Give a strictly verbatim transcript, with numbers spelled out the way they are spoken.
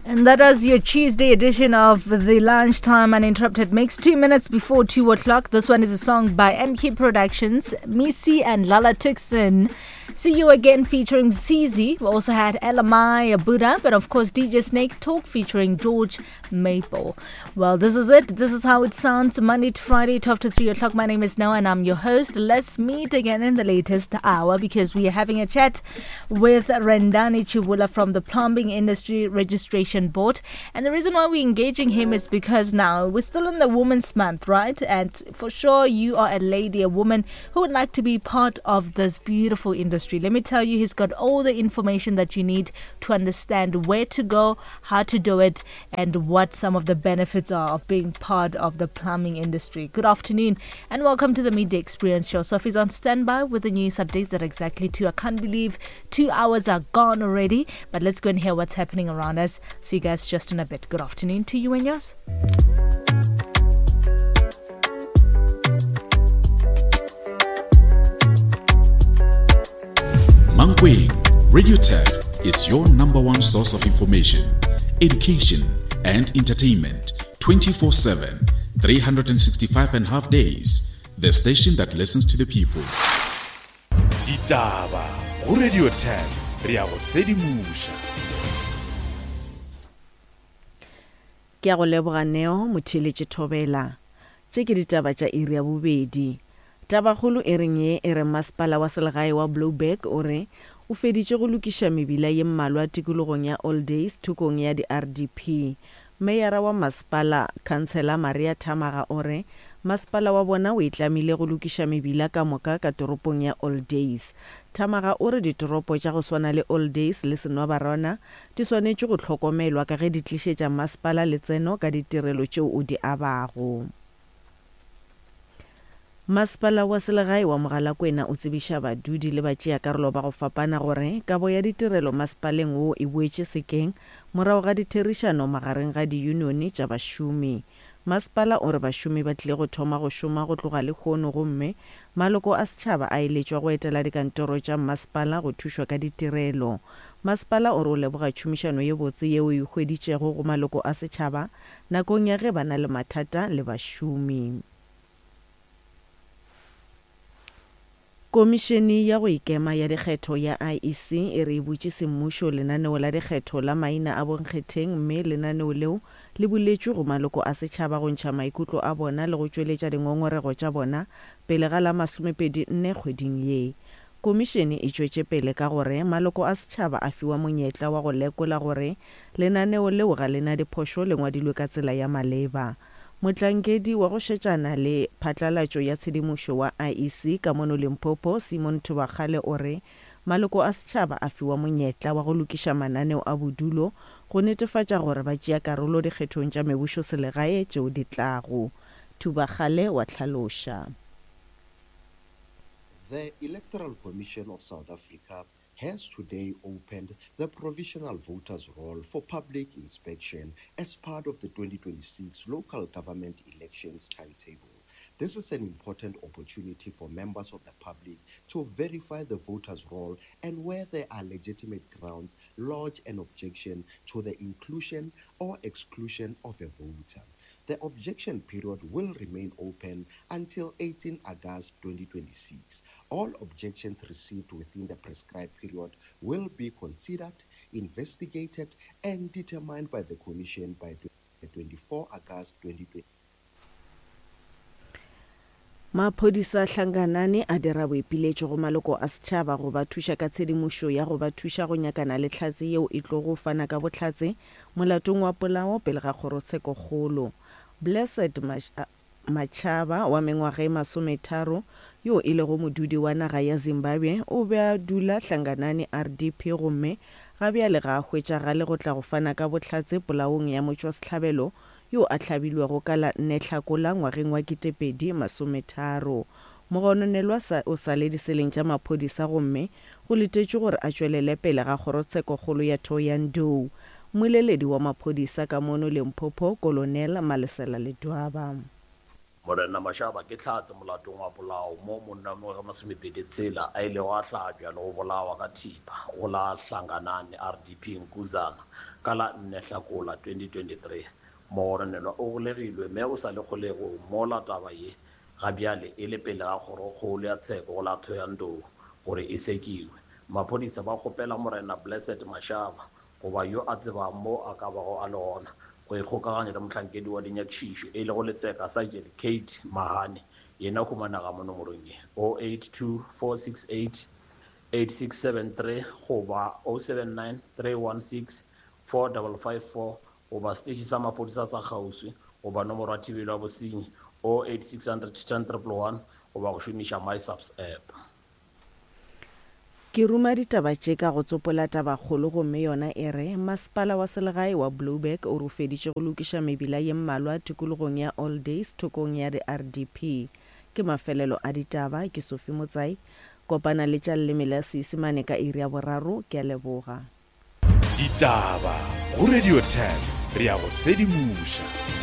And that was your Tuesday edition of the Lunchtime Uninterrupted Mix. Two minutes before two o'clock. This one is a song by M K Productions, Missy and Lala Tuxon. See You Again featuring C Z. We also had L M I, Buddha, but of course D J Snake Talk featuring George Maple. Well, this is it. This is how it sounds. Monday to Friday, twelve to three o'clock. My name is Noah and I'm your host. Let's meet again in the latest hour because we are having a chat with Rendani Chivula from the Plumbing Industry Registration Board. And the reason why we're engaging him is because now we're still in the Women's Month, right? And for sure you are a lady, a woman who would like to be part of this beautiful industry. Let me tell you, he's got all the information that you need to understand where to go, how to do it, and what some of the benefits are of being part of the plumbing industry. Good afternoon and welcome to the Midday Experience Show. Sophie's on standby with the news updates at exactly two. I can't believe two hours are gone already, but let's go and hear what's happening around us. See you guys just in a bit. Good afternoon to you and yours. Mankweng, Radio Tap is your number one source of information, education, and entertainment twenty-four seven, three hundred sixty-five and a half days. The station that listens to the people. Ditaba go Radio Tap, re a go sedimoša. Ke a go leboga Neo motheeletše Thobela. Tše ke ditaba tša iri ya bobedi. Tabakgolo e reng ye e re masepala wa selegae wa Blouberg o re o feditše go lokiša mebila ye mmalwa tikologong ya All Days thokong ya di-R D P. Meyara wa masepala Councillor Maria Thamaga o re masepala wa bona o itlamile go lokiša mebila ka moka ka toropong ya All Days. Thamaga o re ditoropo tša go swana le All Days le Senwabarwana di swanetše go hlokomelwa ka ge di tlišetša masepala letseno ka ditirelo tšeo o di abago. Masepala wa selegae wa Mogalakwena o tsebiša badudi le batšeakarolo ba go fapana gore kabo ya ditirelo masepaleng wo e boetše sekeng morago ga ditherišano magareng ga diyunione tša bašomi. Masepala o re bašomi ba tlile go thoma go šoma go tloga lehono gomme maloko a setšhaba a eletšwa go etela dikantoro tša masepala go thušwa ka ditirelo. Masepala o re o leboga tšhomišano ye botse yeo e hweditšego go maloko a setšhaba nakong ya ge ba na le mathata le bašomi. Komišene ya go ikema ya dikgetho ya I E C e re e butše semmušo lenaneo la dikgetho la maina a bonkgetheng mme lenaneo leo le buletšwe go maloko a setšhaba go ntšha maikutlo a bona le go tšweletša dingongorego tša bona pele ga la masomepedi nne kgweding ye. Komišene e tšwetše pele ka gore maloko a setšhaba a fiwa monyetla wa go lekola gore lenaneo leo ga lena diphošo le ngwadilwe ka tsela ya maleba. Mohlankedi wa go šetšana le phatlalatšo ya tshedimošo wa I E C ka mono Limpopo, Simon Thubakgale o re maloko a setšhaba a fiwa monyetla wa go lokiša mananeo a bodulo go netefatša gore ba tšea karolo dikgethong tša mebušo selegae tšeo di tlago. Thubakgale wa hlaloša. The Electoral Commission of South Africa has today opened the provisional voters roll for public inspection as part of the twenty twenty-six local government elections timetable. This is an important opportunity for members of the public to verify the voters roll and where there are legitimate grounds, lodge an objection to the inclusion or exclusion of a voter. The objection period will remain open until eighteenth August twenty twenty-six. All objections received within the prescribed period will be considered, investigated, and determined by the Commission by twenty-fourth August twenty twenty. Maphodisa Hlanganani a dira boipiletšo go maloko a setšhaba go ba thuša ka tshedimošo ya go ba thuša go nyakana le tlhatse yeo e tlogo fana ka bohlatse molatong wa polao pele ga kgorotshekokgolo. Blessed Machaba wa mengwaga e masometharo yo e lego modudi wa naga ya Zimbabwe o be a dula Hlanganani R D P gomme ga bjale ga a hwetšagale go tla go fana ka bohlatse polaong ya motšwasehlabelo yo a hlabilwego ka la nne Hlakola ngwageng wa ketepedi masometharo. Mogononelwa o sa le diseleng tša maphodisa gomme go letetšwe gore a tšwelele pele ga kgorotshekokgolo ya Thohoyandou. Mmoleledi wa maphodisa ka mono Limpopo, Colonel Malesela Ledwaba. Morena Mashaba ke hlatse molatong wa polao mo monna wa mengwaga e masomepedi tshela a ilego a hlabja le go bolawa ka thipa go la Hlanganani R D P Nkuzana ka la nne Hlakola twenty twenty-three. Mogononelwa o golegilwe mme o sa le kgolegong mola taba ye ga bjale e le pele ga kgorokgolo ya tsheko go la Thohoyandou gore e sekiwe. Maphodisa ba kgopela Morena Blessed Mashaba goba yo a tsebago mo a ka bago a le gona go ikgokaganya le mohlankedi wa dinyakišišo e lego Letseka Sergeant Kate Mahane, yena o humanega mo nomorong ye oh eight two four six eight eight six seven three goba oh seven nine three one six four double five four goba seteše sa maphodisa sa kgauswi goba nomoro ya thibelo ya bosenyi oh eight six hundred ten triple one goba go šomiša MySAPS app. Ke ruma ditaba tše ka go tsopola tabakgolo gomme yona e re, Masepala wa selegae wa Blouberg o re o feditše go lokiša mebila ye mmalwa tikologong ya All Days thokong ya di R D P. Ke mafelelo a ditaba, ke Sophie Motsai. Kopana le tša leleme la Seisemane ka iri ya boraro, ke a leboga. Ditaba go Radio ten, re ya go sedimoša.